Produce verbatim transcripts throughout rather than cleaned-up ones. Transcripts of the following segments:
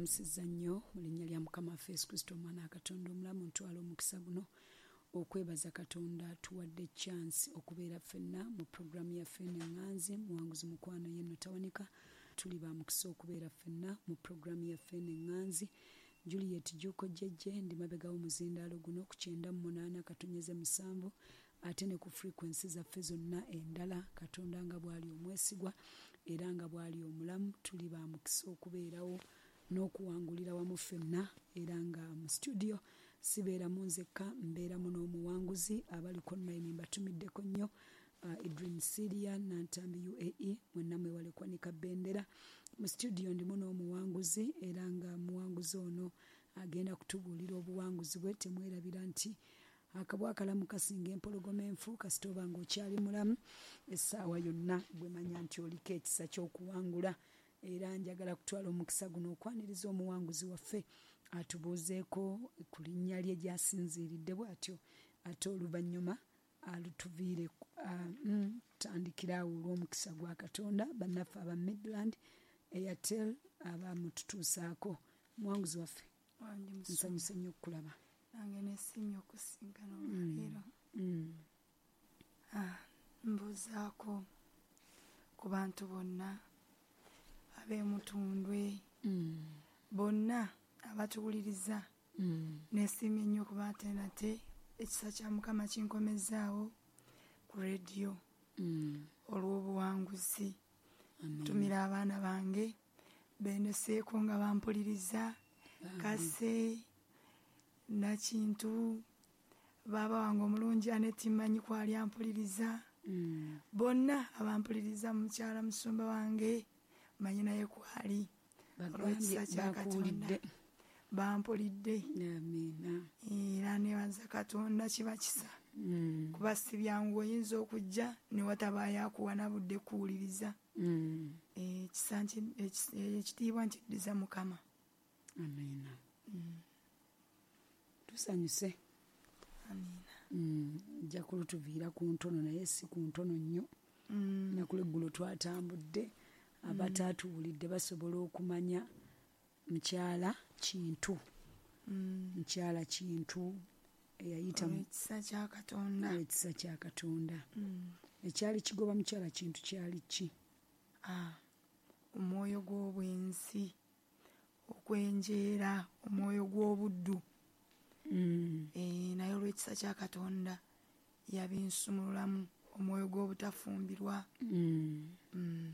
Mbalamusizza nnyo mu linnya lya Mukama waffe Yesu Kristo, Omwana wa Katonda omulamu. Ntwala omukisa guno okwebaza Katonda tuwadde chance okubeera ffenna mu puroguramu yaffe eno Eŋŋanzi. Muwanguzi mukwano yenno tawanika. Tuli ba mukisa okubeera ffenna mu puroguramu yaffe eno Eŋŋanzi. Juliet Juuko Jjejje ndi mabega w'omuzindaalo guno ku kyenda mu munaana katonyeze musanvu, ate ne ku frequency zaffe zonna endala. Katonda nga bw'ali omwesigwa era nga bw'ali omulamu, tuli ba mukisa okubeerawo n'okuwangulira wamu ffenna. Era nga mu studio sibeeramu nzekka, mbeeramu n'omuwanguzi. Abaliko online mbatumiddeko nnyo, uh, Idrin Siria, Nantambi U A E, mwenna mwewale kwanika bendera. Mu studio ndimu n'omuwanguzi, era nga muwanguzi ono agenda kutubuulira obuwanguzi bwe. Temwerabira nti akabwa akalamu kasinga empologoma enfu. Kasita oba ng'okyali mulamu, essaawa yonna gwe manya nti oliko ekisa ky'okuwangula. Era njagala kutwala omukisa guno okwaniriza omuwanguzi waffe, atubuuzeeko ku linnya lye gy'asinziiridde bw'atyo, ate oluvannyuma alutuviire. mm, tutandikira awo olw'omukisa gwa Katonda. Bannaffe aba Midland Airtel abamututuusaako. Muwanguzi waffe, Wange musumba. Nsanyuse nnyo okukulaba. Nange nesiimye okusinkana olwaleero. Mm. Ah, mbuuzaako ku bantu bonna ab'emutundwe, Mm. bonna abatuwuliriza. Mm. Nesiimye nnyo kuba ate nate ekisa kya Mukama kinkomezaawo ku rediyo Mm. olw'obuwanguzi. Amen. Ntumira abaana bange bendeseeko nga bampuliriza, Bambi. Kase Nakintu, baaba wange omulungi Aneti, mmanyi kwali ampuliriza, Mm. bonna abampuliriza, mukyala musumba wange manyi naye kwali. Bagambye Olw'ekisa kya Katonda bakuwulidde. Bampulidde. Amiina. Era nebaza Katonda, kiba kisa, Mm. kuba si byangu, oyinza okujja ne watabaayo akuwa nabudde kuwuliriza. Mm. Ekisa nki- ekis- ekitiibwa nkiddiza Mukama. Amiina, tusanyuse. Amiina. Mm, nja kulutuviira ku ntono, naye si ku ntono nnyo. Mm. Naku lweggulo twatambudde, abataatuwulidde basobola okumanya mukyala Kintu. Mm. Mukyala Kintu eyayita mu Olw'ekisa kya Katonda. Ekisa kya Katonda. Mm. Ekyali kigoba mukyala Kintu kyali ki? Ah, omwoyo gw'obwenzi, okwenjeera, omwoyo gw'obuddu. Mm. Eh, naye olw'ekisa kya Katonda yabinsumululamu, omwoyo gw'obutafumbirwa. Mm. Mm.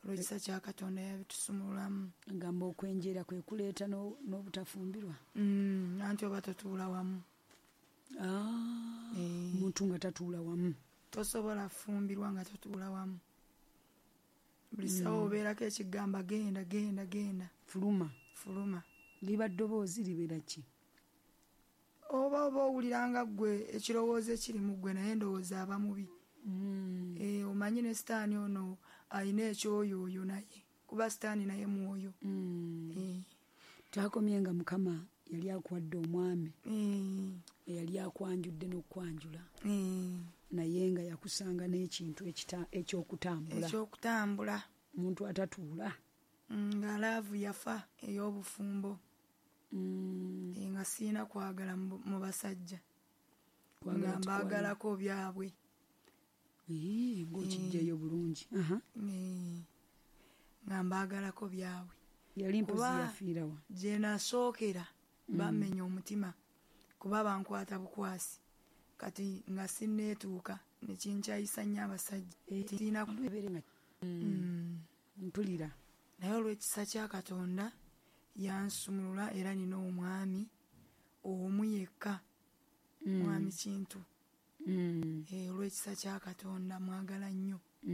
Olw'ekisa kya Katonda yabitusumululamu. Agamba okwenjeera kwe kuleeta no- n'obutafumbirwa. Mm, anti oba totuula wamu. Ah, Eh. omuntu nga tatuula wamu. Tosobola fumbirwa nga totuula wamu. Buli ssaawa obeerako ekigamba, "Genda, genda, genda." Fuluma. Fuluma. Liba ddoboozi, libeera ki? Oba oba owulira nga ggwe ekirowoozo ekiri mu ggwe, naye ndowooza aba mubi. Mm. Eh, omanyi ne Sitaani ono alina ekyoyooyo naye, kuba Sitaani naye mwoyo. Mm. Eh, twakomye nga Mukama yali akuwadde omwami eh, eyali akwanjudde n'okwanjula, eh, naye nga yakusanga n'ekintu ekita- ekyokutambula. Ekyokutambula. Omuntu atatuula. Mm, nga love yafa ey'obufumbo. Mm. Eh, nga siina kwagala mu mu basajja, Kwagala nga tikwagala. mbaagalako byabwe. Ii, ng'okijjayo bulungi. Aha. Eh, nga mbaagalako byabwe. Yali mpozi Kuba yafiirawa? Gye nasookera bammenya omutima, kuba bankwata bukwasi, kati nga sinneetuuka nekinkyayisa nnyo abasajja. Siina. Ebeere nga Mm. mpulira. Naye olw'ekisa kya Katonda yansumulula, era nina omwami omu yekka, mwami Kintu. Mm. Eh, olw'ekisa kya Katonda mwagala nnyo.